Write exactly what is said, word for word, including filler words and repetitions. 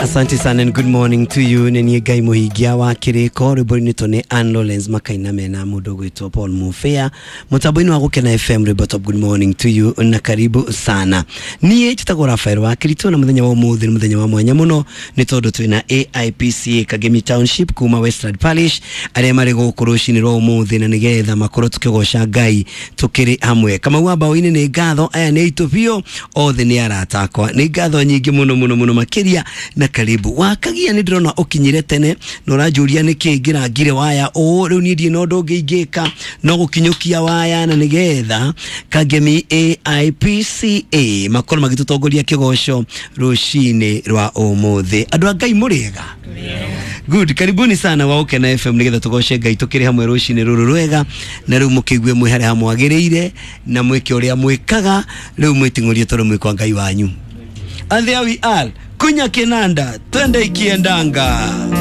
Asante sana and good morning to you. Nĩ niĩ Ngai mũhingia wa kĩrĩko. Rwĩmbo-inĩ tũ nĩ Ann Lawrence makaina mena mũndũ ũgwĩtwo Paul Mufea mũtambo-inĩ wa Gũkena F M. Rwĩmbo top. Good morning to you na karibu sana. Niĩ njĩtagwo Rafael wa Kirito na mũthenya wa ũmũthĩ nĩ mũthenya wa mwanya mũno nĩ tondũ twĩna A I P C A Kagemi Township kuma Westland Parish arĩa marĩ gũkũ rũcinĩ rwa ũmũthĩ na nĩgetha makorwo tũkĩgoca Ngai tũkĩrĩ hamwe. Kamau wa mbaũ-inĩ, nĩ ngatho. Aya nĩ aitũ biũ, othe nĩ arata akwa. Nĩ ngatho nyingĩ mũno mũno mũno makĩria na karibu. Wakagia, nĩ ndĩrona ũkinyire tene na ũranjũria nĩkĩ ngĩrangire waya ũũ. Rĩu niĩ ndirĩ na ũndũ ũngĩ ingĩka no gũkinyũkia waya na nĩgetha Kagemi A I P C A makorwo magĩtũtongoria kĩgoco rũcinĩ rwa ũmũthĩ. Andũ a Ngai, mũrĩega? Good. Karibuni sana wa Ũkena F M nĩgetha tũgoce Ngai tũkĩrĩ hamwe rũcinĩ rũrũ rwega. Na rĩu mũkĩigue mwĩ harĩa hamwagĩrĩire na mwĩke ũrĩa mwĩkaga. Rĩu mwĩting'ũrie tondũ mwĩ kwa Ngai wanyu. And there we are, kunya kinanda, twende ikiendanga.